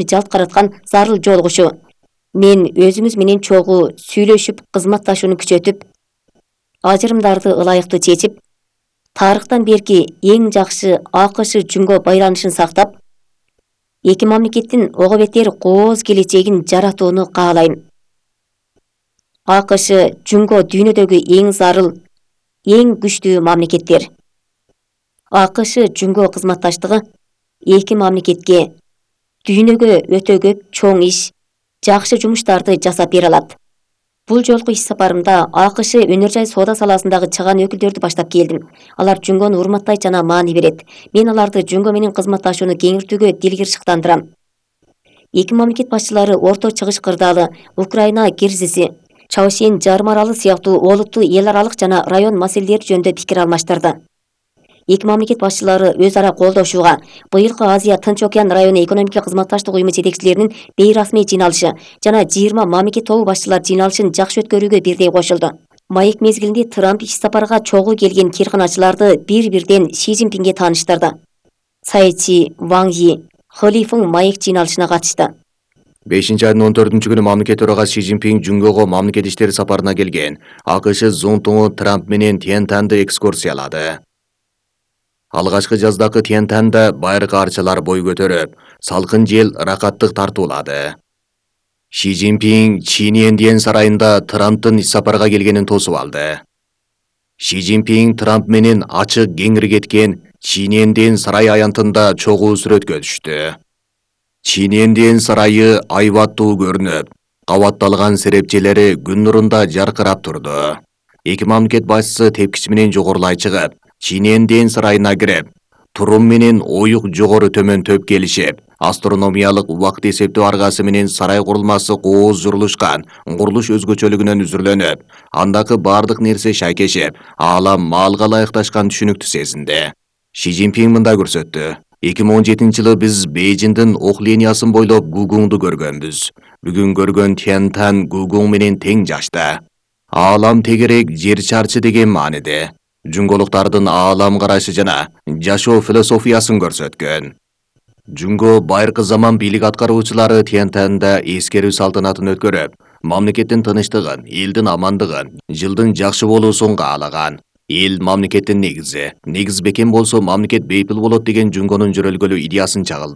жалт караткан зарыл жолугушу. Мен өзүңүз менен чогуу сүйлөшүп, кызматташууну күчөтүп, ажырымдарды ылайыктуу чечип, тарыхтан берки эң жакшы АКШ Жүнгө байланышын сактап, эки мамлекеттин ого бетер кооз келечегин жаратууну каалайм. АКШ Жүнгө дүйнөдөгү эң зарыл, эң күчтүү мамлекеттер. АКШ Жүнгө кызматташтыгы эки мамлекетке дүйнөгө өтө көп чоң иш, жакшы жумуштарды жасап бере алат. Бул жолку иш сапарымда АКШ өнөр жай соода саласындагы чыгаан өкүлдөрдү баштап келдим. Алар Жүнгөнү урматтайт жана маани берет. Мен аларды Жүнгө менен кызматташууну кеңиртүүгө дилгир-шыктандырам. Эки мамлекет башчылары Орто Чыгыш кырдаалы, Украина кризиси, Чаошен жарым аралы сыяктуу олуттуу эл аралык жана район маселелери жөнүндө пикир алмаштырды. Эки мамлекет башчылары өз ара колдошууга быйылкы Азия Тынч океан району экономикалык кызматташтык уюму жетекчилеринин бейрасмий жыйналышы жана 20 мамлекет тобу башчылар жыйналышын жакшы өткөрүүгө бирдей кошулду. Маек мезгилинде Трамп иш сапарга чогуу келген кирканачыларды бир-бирден Си Цзиньпинге тааныштырды. Цай Ван Йи, Хли Фың маек жыйналышына катышты. 5-айдын 14-күнү мамлекет төрагасы Си Цзиньпин Жүнгөгө мамлекет иштери сапарына келген. АКШ зонтуңу Трамп менен Тянтанды экскурсиялады. Алгачкы жаздагы Тянтанда байыркы арчалар бой көтөрүп, салкын жел ракаттык тартуулады. Си Цзиньпин Чиньянден сарайында Трамптын иш сапарга келгенин тосуп алды. Си Цзиньпин Трамп менен ачык кеңири кеткен Чиньянден сарай аянтында чогуу сүрөткө түштү. Чиньянден сарайы айбаттуу көрүнүп, кабатталган серепчелери күн нурунда жаркырап турду. Эки мамлекет башчысы тепкич менен жогорулай чыгып, Чиньянден сарайына кирип, турум менен оюк жогору төмөн төп келишип, астрономиялык убакыт эсептөө аргасы менен сарай курулмасы кооз журулушкан, курулуш өзгөчөлүгүнөн үзүрлөнүп, андагы бардык нерсе шайкешип, аалам маалга ылайыкташкан түшүнүктү сезинди. Си Цзиньпин мындай көрсөттү. 2017-жылы биз Бейжиңдин ок линиясын бойлоп Гугуңду көргөнбүз. Бүгүн көргөн Тянтан Гугуң менен тең жашта. Аалам тегерек жер чарчы деген мааниде. Жүнгөлүктардын аалам карашы жана жашоо философиясын көрсөткөн. Жүнгө байыркы заман бийлик аткаруучулары Тянтанда эскерүү салтанатын өткөрүп, мамлекеттин тынычтыгын, элдин амандыгын, жылдын жакшы болуусун каалаган. Эл мамлекеттин негизи. Негиз бекем болсо мамлекет бейпил болот деген Жүнгөнүн жөрөлгөлүү идеясын чагылды.